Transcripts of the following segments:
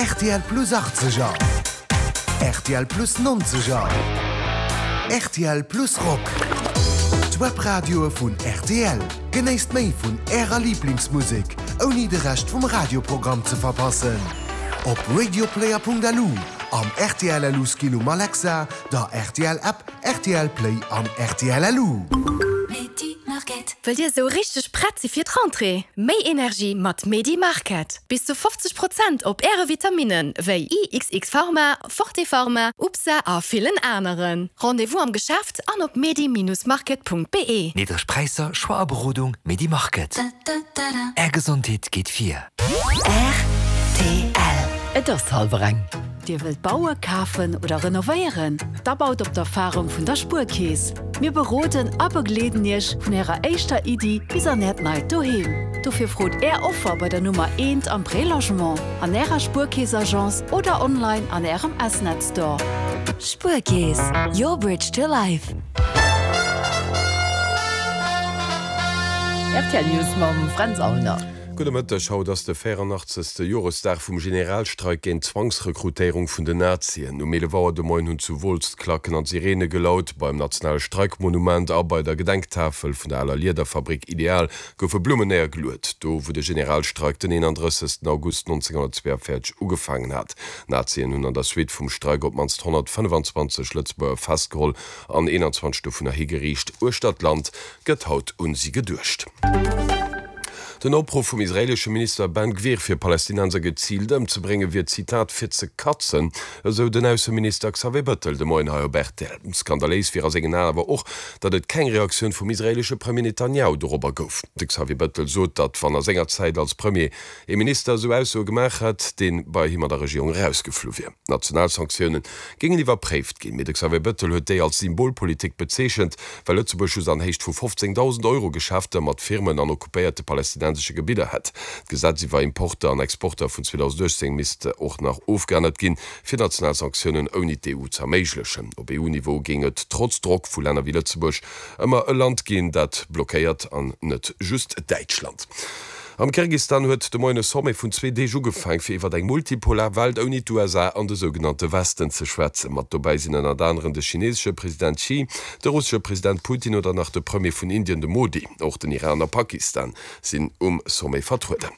Rtl Plus Achtzeger, rtl Plus Nonzeger, rtl Plus Rock. D'Webradioe vun rtl. Genéisst méi vun Ärer Liblingsmusek, ouni de Rescht vum Radioprogramm ze verpassen. Op radioplayer.lu, am rtl LU Skill um Alexa, der rtl App, rtl Play an rtl LU. Wëllt Dir esou richteg prett si fir d'Rentrée? Méi Energie mat Medi Market! Bis zu 50 Prozent op Äre Vitaminen wéi IXX Pharma, Forte Pharma, UPSA a villen aneren. Rendez-vous am Geschäft an op medi-market.be. Niddreg Präisser, Choix a Berodung, Medi Market. Är Gesondheet geet vir. Rtl. Et ass hallwer eng. Dir wëllt baue, kafen oder renovéieren? Da baut op d'Erfarung vun der Spuerkeess. Mir beroden a begleeden Iech vun Ärer éischter Iddi bis an Äert neit Doheem. Dofir frot Är Offer bei der Nummer eent am Prélogement, an Ärer Spuerkeess-Agence oder online an Ärem S-Net Store. Spuerkeess, your bridge to life. Rtl News mam Fränz Aulner. Gudde Mëtteg, Haut ass de 84. Joresdag vum Generalstreik géint d'Zwangsrekrutéierung vun den Nazien. Um 11 Auer de Moien hunn zu Wolz d'Klacken an d'Sirene gelaut. Beim nationale Streikmonument a bei der Gedenktafel vun der aler Liederfabrik Ideal goufe Blummen néiergeluet, do wou de Generalstreik den 31. August 1942 ugefaangen hat. D'Nazien hunn an der Suite vum Streik op d'mannst 125 Lëtzebuerger festgeholl an 21 dovunner higeriicht. Uechter d'Land gëtt haut un si geduecht. Den Opruff vum israeelesche Minister Ben Gvir fir Palästinenser geziilt ëmzebrénge wier, Zitat, fir ze katzen, esou den Ausseminister Xavier Bëttel de Moien hei op rtl. Skandaléis wier a sengen Aen awer och, datt et keng Reaktioun vum israeelesche Premier Netanjahu dorobber gouf. De Xavier Bëttel sot, datt wann a senger Zäit als Premier ee Minister esou Aussoe gemaach hätt, dee bei him an der Regierung erausgeflu wier. National Sanktioune géingen iwwerpréift ginn, mee de Xavier Bëttel huet déi als Symbolpolitik bezeechent, well Lëtzebuerg just an Héicht vu 15.000 Euro Geschäfter mat Firmen an occupéierte palästinensesche Gebidder hätt. D'Gesetz iwwer Importer an Exporter vun 2018 misst och nach ofgeännert ginn, fir national Sanktiounen ouni d'EU z'erméiglechen. Op EU-Niveau géing et trotz Drock vu Länner wéi Lëtzebuerg ëmmer e Land ginn, dat blockéiert, an net just Däitschland. Am Kirgistan huet de Moien e Sommet vun zwee Deeg ugefaang, fir iwwer eng multipolar Welt ouni d'USA an de sougenannte Westen ze schwätzen. Mat dobäi sinn ënnert aneren de chinesesche President Xi, de russesche President Putin oder nach de Premier vun Indien, de Modi. Och den Iran a Pakistan sinn um Sommet vertrueden.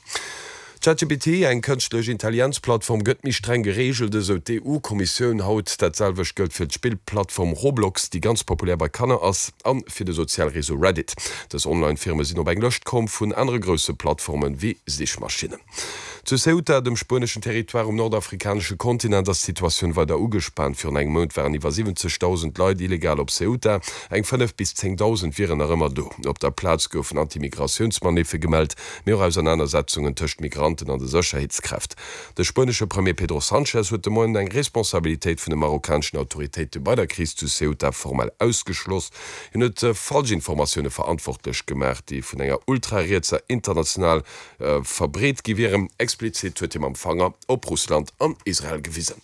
ChatGPT, eng kënschtlech Intelligenz-Plattform, gëtt méi streng gereegelt, esou d'EU-Kommissioun haut. Dat selwecht gëllt fir d'Spillplattform Roblox, déi ganz populär bei Kanner ass, a fir de Sozialreseau Reddit. Dës Online-Firme sinn op eng Lëscht komm vun anere grousse Plattforme wéi Sichmaschinnen. Zu Ceuta, dem spueneschen Territoire um nordafrikanesche Kontinent, ass d'Situatioun weider ugespaant. Virun engem Mount waren iwwer 70.000 Leit illegal op Ceuta, eng 5 bis 10.000 wieren nach ëmmer do. Op der Plaz goufen Anti-Migratiounsmaniffe gemellt, mee och Ausernanersetzungen tëscht Migranten an de Sécherheetskräft. De spuenesche Premier Pedro Sanchez huet de Moien eng Responsabilitéit vun de marokkaneschen Autoritéite bei der Kris zu Ceuta formell ausgeschloss. Hien huet Falschinformatioune verantwortlech gemaach, déi vun enger ultrarietser International verbreet gi wieren. Explizit huet hie mam Fanger op Russland an Israel gewisen.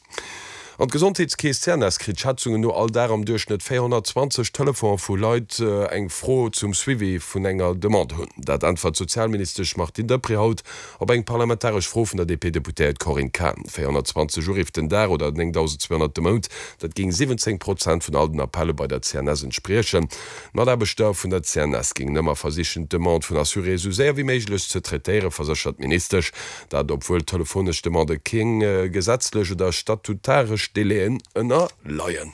An d'Gesondheetskeess CNS kritt Schätzungen no all Dag am Duerchschnëtt 420 Telefonen vu Leit eng Fro zum Suivi vun enger Demande hunn. Dat äntwert d'Sozialministesch Martine Deprez haut op eng parlamentaresch Fro vun der DP-Deputéiert Corinne Cahen. 420 Uriff den Dag oder 9.200 de Mount, dat géing 17 Prozent vun all den Appelle bei der CNS entspriechen. D'Mataarbechter vun der CNS géingen ëmmer versichen, d'Demande vun Assuréë sou séier wéi méiglech ze traitéieren, verséchert d'Ministesch. Dat obwuel telefonesch Demandë keng gesetzlech oder statutaresch Délaiën ënnerleien.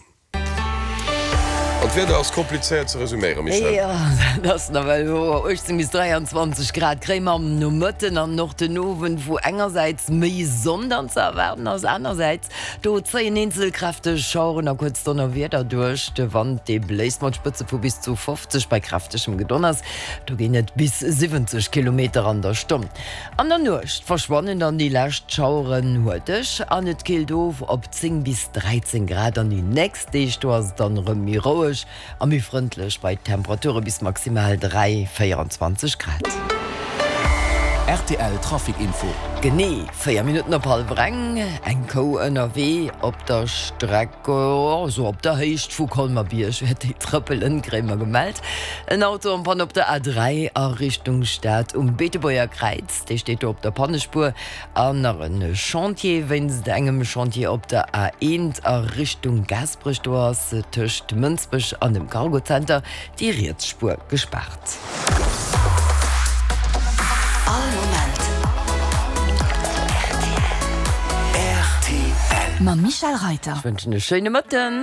An d'Wieder ass komplizéiert ze resuméieren, Michèle. Jo, dat ass nawell wouer. 18 bis 23 Grad kréie mer am Nomëtten an och den Owend, wou engersäits méi Sonn dann ze erwaarden ass, anersäits do zéien eenzel kräfteg Schaueren a kuerz Donnerwieder duerch. De Wand, dee bléist mat Spëtze vu bis zu 50 bei kräftegem Gedonners, do ginn et bis 70 Kilometer an der Stonn. An der Nuecht verschwannen dann déi lescht Schaueren huerteg an et killt of op 10 bis 13 Grad. An déi nächst Deeg do ass et dann erëm méi roueg a méi frëndlech bei Temperature bis maximal 3, 24 Grad. Rtl Trafic Info. Genee 4 Minutten op hallwer eng, eng Kou ënnerwee op der Streck, esou op der Héicht vu Colmer-Bierg wäert déi trëppelen, kréie mer gemellt. En Auto en panne op der A3 a Richtung Stad um Beetebuerger Kräiz, dee steet do op der Pannespuer. An nach e Chantier, Wéinst engem Chantier op der A1 a Richtung Gaasperech, do ass tëscht Mënsbech an dem Cargozenter déi riets Spuer gespaart. All Moment rtl. Mam Michel Reiter. Ech wënschen e schéine Mëtten.